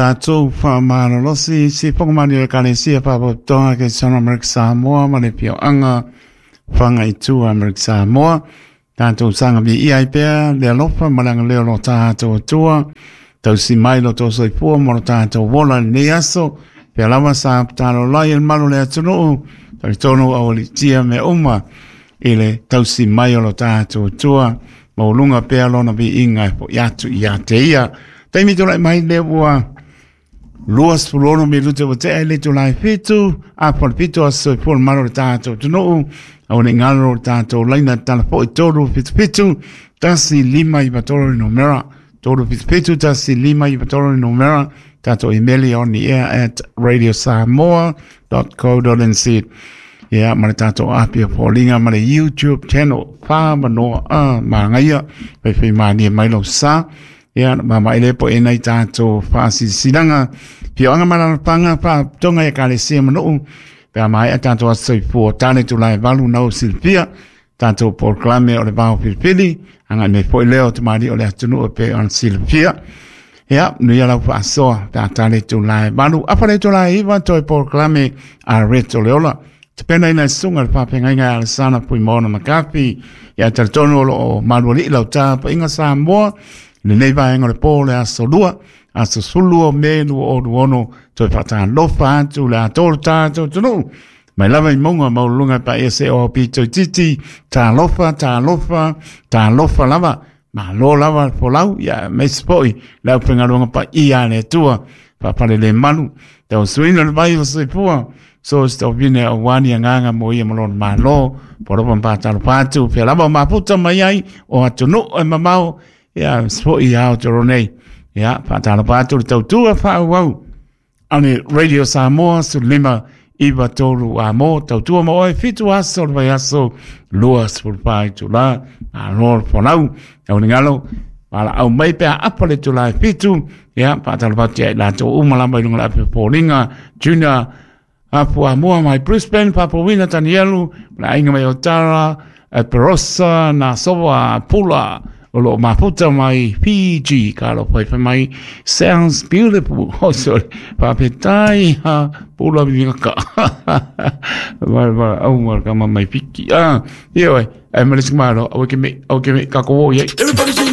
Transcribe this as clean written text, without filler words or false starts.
Tatou faamalolosi sifoga mani o Ekalesia Faalapotopotoga Kerisiano Amerika Samoa ma le Afioaga Fagaitua Amerika Samoa. Tatou saga viia ai pea le alofa ma le agalelei o lo tatou Atua, tausi mai lo tou soifua ma lo tatou ola i lenei aso. Pea lava sa tatalo ai le malu o le atunuu, talitonu aualiitia mea uma i le tausi mai o lo tatou Atua, maualuga pea lona viiga e fo'i atu ia te ia. Taimi tulai mai lea ua 26 minute ua tea i le itula e 7, afa o le 7 aso soifua le malo o le tatou atunuu. Aua ne i galo le tatou laina tala foi 377 1593 le numera, 377 1593 le numera, tatou email i onair@radiosamoa.co.nz. Ia, ma le tatou api o foliga ma le YouTube channel wha manoa a magaia fai manie mai lau sa. Ia, ma mai le po e nei tatou whaasisilaga fioanga ma lalafaga faapotoga i Ekalesia ma nuu pe a maea tatou aso soifua tane tulae 8 nau silafia tatou polokalame o le vao filifili agai mai foi lea o tamalii o le atunuu e pei ona silafia. Ia, nuia lau faasoa pe a tale tulae 8 afa le tulae 9 toe polokalame a Reto le Ola tapenaina e susuga le faafeagaiga e Alesana Fuimaono Makafi. Ia talitonu o loo malualii lau tapaiga Samoa lenei vaega o le po le aso 2 aso 12 o Me 2026. Toe faatalofa atu le atoa o tatou atunuu mai lava i mauga maualuluga e paia se o pito itiiti. Talofa, talofa, talofa lava, malo lava le folau. Ia aemaise foi le aufaigaluega paia a le Atua faafalelemalu tausuina le vai o soifua so se tauvine aua ni agaga mo ia ma lona malo polopa ma patalofa atu fea lava o mafuta mai ai o atunuu e mamao. Ia foi Aotearoa nei. Ia faatalofa atu le tautua faaauau a le Radio Samoa 15 93 a mo tautua ma oe 7 aso o le vaiaso 24 itula. Malo le folau au galo valaau mai pe a apa le itula e 7. Ia faatalofa atu ia i latou uma lava i luga o le ape foliga Junior Apu Amoa mai Brisbane, Papawina Danielu, le aiga mai o Tara, Perosa, Nasoa, Pula, o lo mafuta mai Fiji, ka lo fai mai sounds beautiful. Oh, sorry. Faafetai ha pula vingaka. Vai vai au mar kama mai fiki. Ah, ioe, ai ma le malo, au ke me, au ke me ka ko ye. Everybody say